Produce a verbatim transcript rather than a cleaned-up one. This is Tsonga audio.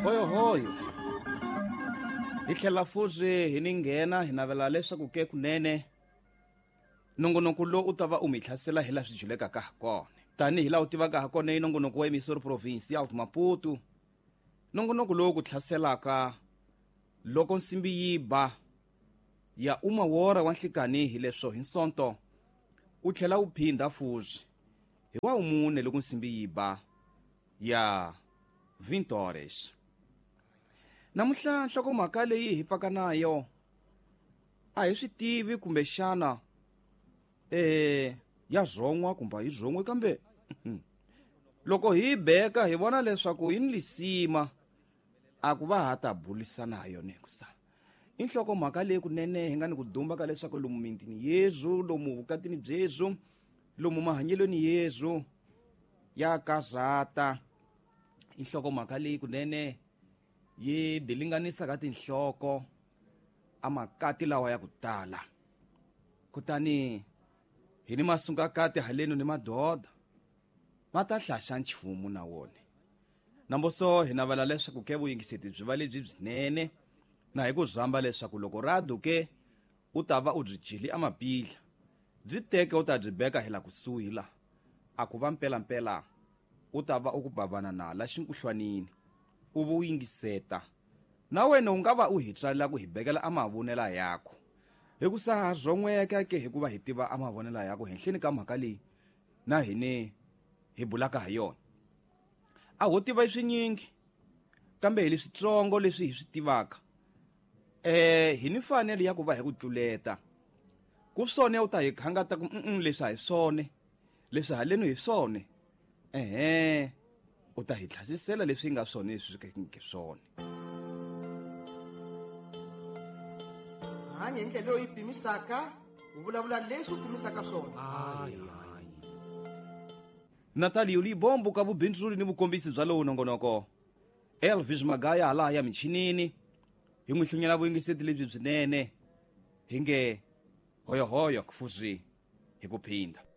Hoyohoyo hi tlhela fuzi hi ni nghena hi navela leswaku ke kunene nongonoko lowu u ta va u mi hlasela hi laha swi julekaka ha kona tanihi laha u tivaka ha kona i nongonoko wa Emissora Provincial de Maputo, nongonoko lowu ku hlaselaka loko nsimbi yi ba ya uma wora wa nhlikani hi leswo hi nsonto u tlhela u phindha fuzi hi wa mune loko nsimbi yi ba ya vinte horas. Namuntlha nhlokomhaka leyi hi pfaka nayo a hi swi tivi kumbexana eh ya zon'wa kumbe a yi zon'wi, kambe loko hi beka hi vona leswaku yi ni lisima a ku va ha ta burisana ha yona hikusa i nhlokomhaka leyi kunene hi nga ni ku dumba ka leswaku lomu mintini yezu, lomu vukatini byezu, lomu mahanyelweni yezu ya kazata. I nhlokomhaka leyi kunene yi dilinganisa ka tinhloko a makati lawa ya ku tala, kutani hi ni masungakati haleno ni madoda ma ta hlaxa nchumu na wona. Namboso hi navela leswaku ke vuyingiseti byi va lebyi byinene na hi ku zamba leswaku loko rado ke u ta va u byi jeli amapidla byi teke u ta byi beka hi la kusuhi la a ku va mpelampela u ta va u ku bavana na la xinkuhlwanini u vu yingiseta na wena u nga va u hi tswalela ku hi bekela a mavonela yakho hikusa ha zon'weka ke hikuva hi tiva a mavonela yakho henhleni ka mhaka leyi na hine hi bulaka ha yona. A ho tiva swinyingi kambe hi leswitsongo leswi hi swi tivaka eh hi ni mfanelo ya ku va hi ku tluleta ku swone u ta hi khangata ku mm leswi a hi swone leswi haleno hi swone ehe u ta hi tlhasisela leswi nga swone leswi swi swone. Hanya hi ndlela leyi pimisaka u vulavula leswi u pimisaka swona. Natalio Libombo ka vubindzuri ni vukombisi bya lowu nongonoko, Elvis Magaya hala ya michinini hi n'wi hlunyela vuyingiseti lebyi byinene hi nge hoyohoyo kufuzi hi ku phinda.